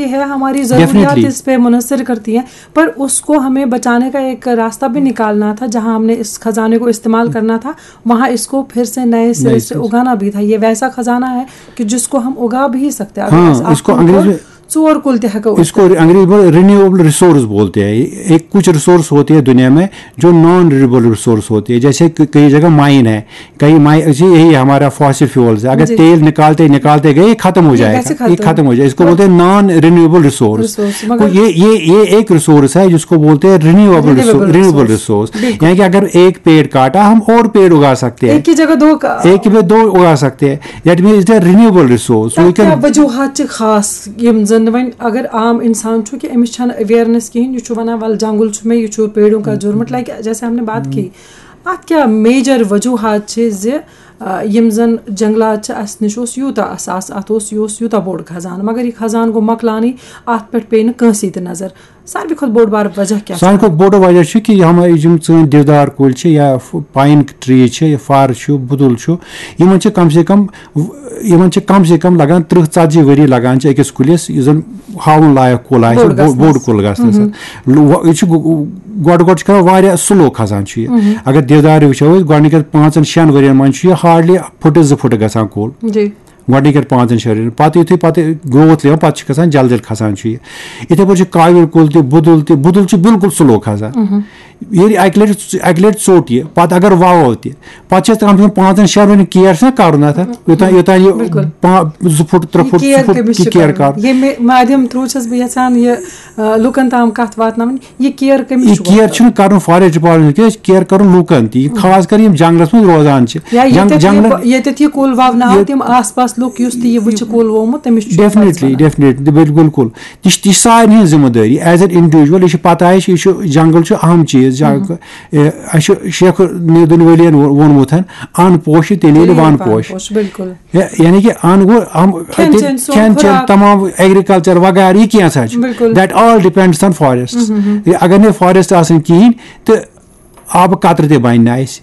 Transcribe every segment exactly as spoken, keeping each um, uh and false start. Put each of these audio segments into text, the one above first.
ये है, हमारी ज़रूरियात Definitely. इस पे मुनहसर करती है, पर उसको हमें बचाने का एक रास्ता भी निकालना था। जहाँ हमने इस खजाने को इस्तेमाल करना था, वहाँ इसको फिर से नए सिरे नए से सिरे। उगाना भी था। ये वैसा खजाना है कि जिसको हम उगा भी सकते हैं। हाँ, अगर आप इसको खुद को अंग्रेजी में चोर कुल ते हको इसको अंग्रेजी में रिन्यूएबल रिसोर्स बोलते हैं। एक कुछ रिसोर्स होती है दुनिया में जो नॉन रिन्यूएबल रिसोर्स होती है, जैसे कि कई जगह माइन है, कई माइन, यही हमारा फॉसिल फ्यूल्स है। अगर जी। तेल निकालते निकालते गए, ये खत्म हो ये जाएगा, कैसे ये खत्म? खत्म हो जाएगा। इसको बोलते हैं नॉन रिन्यूएबल रिसोर्स। रिसोर्स, मगर ये ये ये एक रिसोर्स है जिसको बोलते हैं renewable renewable renewable resource. Resource. बिल्कुल। यानी कि अगर एक पेड़ काटा, हम और पेड़ उगा सकते हैं। एक की जगह दो का एक में दो उगा सकते हैं। That means it's a renewable resource. We تَتھ کیٛاہ can وجوہات چھِ خاص یِم زَن وۄنۍ اگر عام اِنسان چھُ کہِ أمِس چھَنہٕ اویرنیس کِہیٖنۍ، یہِ چھُ وَنان وَلہٕ جنٛگُل چھُ مےٚ، یہِ چھُ پیڑوں کا جرم، مطلب جیسے ہم نے بات کی، اَتھ کیٛاہ میجر وجوہات چھِ زِ آ، یِم زَن جنٛگلات چھِ، اَسہِ نِش اوس یوٗتاہ اثاثہٕ، اَتھ اوس، یہِ اوس یوٗتاہ بوٚڑ خزانہٕ، مگر یہِ خزانہٕ گوٚو مۄکلاونٕے، اَتھ پٮ۪ٹھ پیٚیہِ نہٕ کٲنٛسے تہِ نظر۔ ساروی کھۄتہٕ بوٚڑ بار وجہ کیٛاہ چھُ؟ ساروی کھۄتہٕ بوٚڑ وجہ چھُ کہِ یِم یِم سٲنۍ دِودار کُلۍ چھِ یا پاین ٹری چھِ یا فر چھُ، بُدُل چھُ، یِمن چھِ کم سے کم یِمن چھِ کم سے کم لگان ترٕٛہ ژتجی ؤری لگان چھِ أکِس کُلِس، یُس زن ہاوُن لایق کُل آسہِ، بوٚڑ بوٚ- گژھنس۔ بوٚڑ کُل گژھنس۔ لو- یہِ چھُ گۄ- گۄڈٕ گۄڈٕ چھُ کران واریاہ سلو کھسان چھُ یہِ۔ اگر دِودار وٕچھو أسۍ، گۄڈٕنِکٮ۪ن پانٛژن شٮ۪ن ؤرین منٛز چھُ یہِ ہاردلی فُٹہٕ زٕ فُٹہٕ گژھان کُل۔ جی۔ گۄڈٕنِکٮ۪ن پانٛژن شٮ۪ن ؤرین۔ پتہٕ یُتھُے پتہٕ گروتھ یِوان، پتہٕ چھُ گژھان جلد جلد کھسان چھُ یہِ۔ یِتھے پٲٹھۍ چھُ کاوِر کُل تہِ، بُدُل تہِ۔ بُدُل چھُ بالکل سلو کھسان۔ ییٚلہِ اکہِ لٹہِ اکہِ لٹہِ ژوٚٹ یہِ، پتہٕ اگر وَوو تہِ، پتہٕ چھِ اَتھ کم سے کم پانٛژن شٮ۪ن ؤرین کیر چھُنہ کرُن اَتھ۔ یوٚتام یوٚتام یہِ بِلکُل۔ پا- زٕ فُٹ ترٛےٚ یہِ فُٹ کیر زٕ فُٹ کٔمِس یہِ چھُ کیر کرُن؟ کرُن۔ ییٚمہِ مادھیم تھرو چھَس بہٕ یژھان یہِ آ، لُکن تام کتھ واتناوٕنۍ، یہِ کیر کٔمِس یہِ چھُ کیر واتناوُن؟ چھُنہٕ کرُن فاریسٹ ڈپارٹمنٹ، کیازِ کیر کرُن لوٗکن تہِ، یہِ خاص کر یِم جنگلس منٛز روزان چھِ۔ یا جنگ- ییٚتٮ۪تھ جنگلن یہِ ییٚتٮ۪تھ یہِ کُل وونہٕ آو، تِم آس پاس لُکھ یُس تہِ یہِ وٕچھِ کُل وومُت، تٔمِس چھُ ڈیفنیٹلی ڈیفنیٹلی بالکل۔ یہِ چھِ یہِ چھِ سارنٕے ہٕنٛز ذمہٕ دٲری ایز این انڈیویجول۔ یہِ چھِ پتہ اَسہِ، یہِ چھُ جنگل چھُ اہم چیٖز۔ جنگ- اے، اَسہِ چھُ شیخ نوٗردیٖن ؤلی یَن وو- ووٚنمُت ہن، ان پوش چھِ تیٚلہِ ییٚلہِ ون پوش۔ پوش، بِلکُل۔ یا- یعنی کہِ ان گوٚو اہم، کھٮ۪ن تہِ- چٮ۪ن، سون کھٮ۪ن چٮ۪ن، خوراک۔ تمام ایگریکلچر وغیرہ، یہِ کینٛژھا چھُ۔ بِلکُل۔ That all depends on forests۔ اگر نہٕ فاریسٹ آسن کِہینۍ تہٕ آبہٕ قطرٕ تہِ بنہِ نہٕ اَسہِ۔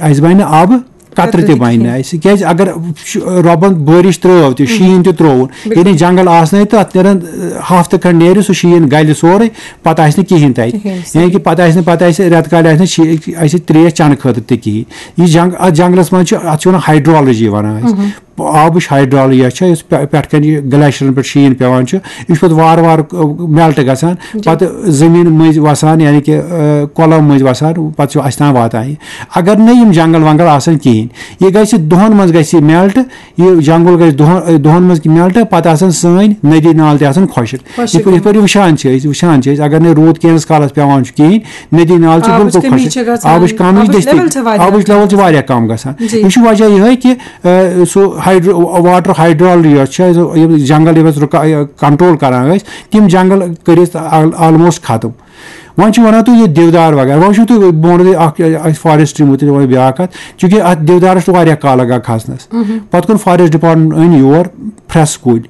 اَسہِ بنہِ نہٕ آبہٕ قطرٕ قطرٕ تہِ تہِ بنہِ نہٕ کِہینۍ۔ اَسہِ۔ کیازِ اگر ش- رۄبن بٲرِش ترٲو تہِ، شیٖن تہِ ترٛووُن، ییٚلہِ نہٕ جنگل آسنَے تہٕ اَتھ نیرن، اَ، ہفتہٕ کھنڈ نیرِ، سُہ شیٖن گلہِ سورُے، پتہٕ آسہِ نہٕ کِہینۍ تَتہِ۔ کِہینۍ۔ یعنی کہِ پتہٕ آسہِ نہٕ، پتہٕ آسہِ رٮ۪تہٕ کالہِ آسہِ نہٕ شی- اَسہِ ترٛیش چٮ۪نہٕ خٲطرٕ تہِ کِہینۍ۔ یہِ جنگ-، اَتھ جنگلس منٛز چھُ، اَتھ چھِ وَنان ہائیڈرولوجی وَنان أسۍ۔ آبٕچ ہائیڈرولوجی چھےٚ، یۄس پے- پٮ۪ٹھ کَنہِ یہِ گلیشیرن پٮ۪ٹھ شیٖن پٮ۪وان چھُ، یہِ چھُ پَتہٕ وارٕ وارٕ، اَ، میلٹ گژھان، پَتہٕ زٔمیٖن مٔنٛزۍ وَسان، یعنی کہِ، اَ، کۄلو مٔنٛزۍ وَسان، پَتہٕ چھُ اَسہِ تام واتان یہِ۔ اگر نہٕ یِم جنگل ونگل آسن کِہینۍ، یہِ گژھِ دۄہن منٛز گژھِ یہِ میلٹ، یہِ جنگل گژھِ دۄہن، دۄہن منٛز کہِ میلٹ، پَتہٕ آسن سٲنۍ ندی نالہٕ تہِ آسن خۄشک۔ خۄشک۔ یِتھ پٲٹھۍ، یِتھ پٲٹھۍ وٕچھان چھِ أسۍ، وٕچھان چھِ أسۍ، اگر نہٕ روٗد کینٛہہ کالس پٮ۪وان چھُ کِہینۍ، ندی نالہٕ چھِ آبٕچ بِلکُل کمی خۄشک۔ چھِ گژھان، آبٕچ کمی آبٕچ گژھِ تہِ، level چھِ واریاہ آبٕچ کم۔ Level چھِ واریاہ کم گژھان۔ جی۔ یہِ چھُ وجہ یِہوٚے کہِ، اَ، سُہ ہائیڈرو-، واٹر ہائیڈرولوجی یۄس چھےٚ، سُہ یِم جنگل یِم اَسہِ رُکا-، یہِ کنٹرول کران ٲسۍ، تِم جنگل کٔرِتھ آل-، آلموسٹ ختم۔ وۄنۍ چھِ وَنان تُہۍ یہِ دِودار وغیرہ، وۄنۍ وٕچھِو تُہۍ، بہٕ وَنو تۄہہِ اَکھ، اَسہِ فارسٹری مُتعلِق وَنو بیٛاکھ کَتھ، چوٗنٛکہِ اَتھ دِودارَس چھُ واریاہ کال لَگان کھَسنَس۔ پَتہٕ کوٚر فارسٹ ڈِپارٹمنٹ أنۍ یور پھرٛٮ۪س کُلۍ۔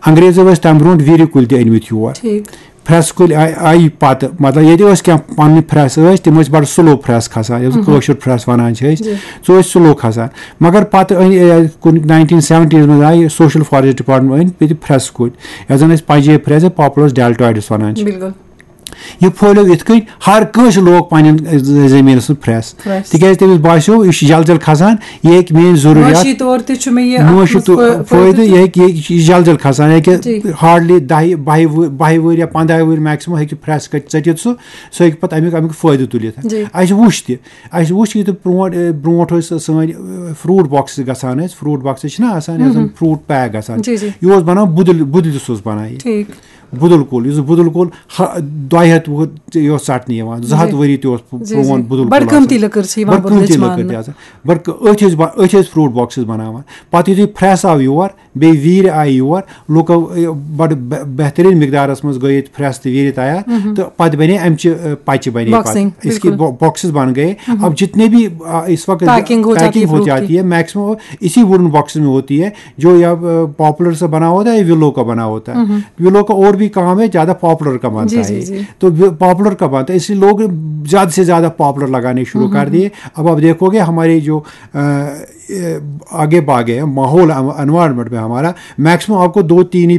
انگریزو ٲسۍ تَمہِ برونٛٹھ ویٖرِ کُلۍ تہِ أنۍمٕتۍ یور۔ ٹھیٖک۔ پھرٛٮ۪س کُلۍ آے، آیہِ پَتہٕ، مطلب، ییٚتہِ ٲسۍ کینٛہہ پَنٕنۍ پھرٛٮ۪س ٲسۍ، تِم ٲسۍ بَڑٕ سلو پھرٛٮ۪س کھَسان، یَتھ زَن کٲشُر پھرٛٮ۪س وَنان چھِ أسۍ، سُہ ٲسۍ سلو کھَسان۔ مگر پَتہٕ أنۍ، اے، کُنہِ ناینٹیٖن سیوَنٹیٖز منٛز آیہِ سوشل فارسٹ ڈِپارٹمنٹ، أنۍ ییٚتہِ پھرٛٮ۪س کُلۍ، یَتھ زَن أسۍ پنجٲبۍ پھرٛٮ۪س یا پاپولَس ڈیلٹویڈٕس وَنان چھِ۔ بِلکُل۔ یہِ پھٔہلیو یِتھ کٔنۍ، ہر کٲنٛسہِ لوگ پنٕنٮ۪ن زٔمیٖنَس منٛز پھرٛٮ۪س۔ پھرٛٮ۪س۔ تِکیٛازِ تٔمِس باسیو، یہِ چھُ جلد جلد کھسان، یہِ ہیٚکہِ میٛٲنۍ ضروٗریات، معاشی طور تہِ چھُ مےٚ یہِ اَتھ معاشی منٛز طور فٲ-، فٲیدٕ، فٲیدٕ۔ یہِ ہیٚکہِ، یہِ چھُ جلد جلد کھسان، یہِ ہیٚکہِ جی۔ ہارڈلی دَہہِ، بَہہِ وُ-، بَہہِ وُہٕرۍ یا پنٛداہہِ وُہٕرۍ میکسِمم ہیٚکہِ پھرٛٮ۪س کٔڑِتھ، ژٔٹِتھ سُہ، سُہ ہیٚکہِ پَتہٕ اَمیُک، اَمیُک فٲیدٕ تُلِتھ۔ جی۔ اَسہِ وُچھ تہِ، اَسہِ وُچھ یہِ تہِ برونٛٹھ، اے، برونٛٹھ ٲسۍ سٲنۍ، اے، فروٗٹ باکسٕز گژھان ٲسۍ، فروٗٹ باکسٕز چھِنہ آسان، یَتھ زَن فروٗٹ پیک گژھان۔ جی، جی۔ یہِ اوس بَنان بُدٕلۍ، بُدٕلِس اوس بَنان یہِ۔ ٹھیٖک۔ بُدُل کُل، یُس بُدُل کُل ہا-، دۄیہِ ہَتھ وُہُر تہِ یہِ اوس ژَٹنہٕ یِوان، زٕ ہَتھ جی۔ ؤری تہِ اوس پُ-، جی، جی۔ پرٛون بُدُل کُل بَڑٕ قۭمتی آسان۔ لٔکٕر چھِ یِوان بَڑٕ بُدلِچ قۭمتی لٔکٕر ماننہٕ۔ تہِ آسان۔ بَڑٕ قۭ-، أتھۍ ٲسۍ با-، أتھۍ ٲسۍ فروٗٹ باکسٕز بَناوان۔ پَتہٕ یُتھُے پھرٛٮ۪س آو یور، بیٚیہِ ویٖرِ آیہِ یور، لُکو، یہِ، بَڑٕ بہ-، بہتریٖن مقدارَس منٛز گٔے ییٚتہِ پھرٛٮ۪س تہٕ ویٖرِ تیار، تہٕ پَتہٕ بَنے اَمچہِ، اَ، پَچہِ بَنے پَتہٕ۔ باکسِنٛگ، اس کی بِلکُل۔ با-، باکسٕز بَن گٔے۔ اب جتنے بھی، آ، اس وقت پَیکِنٛگ ہو جاتی ہے پَیکِنٛگ ہو فروٹ کی۔ جاتی ہے، میکسیمم اسی ووڈن باکسز میں ہوتی ہے۔ جو یا، آ، پاپولر سے بنا ہوتا ہے یا ولو کا بنا ہوتا ہے۔ ولو کا اور بھی کام ہے، زیادہ پاپولر کا بنتا جی، ہے۔ جی، جی۔ تو وہ پاپولر کا بنتا ہے، اس لیے لوگ زیادہ سے زیادہ پاپولر لگانے شروع کر دیے۔ اب آپ دیکھو گے ہمارے جو، آ، اے، آگے باغے ہیں، ماحول، انوائرمنٹ میں ہمارا میکسیمم آپ کو دو تین ہی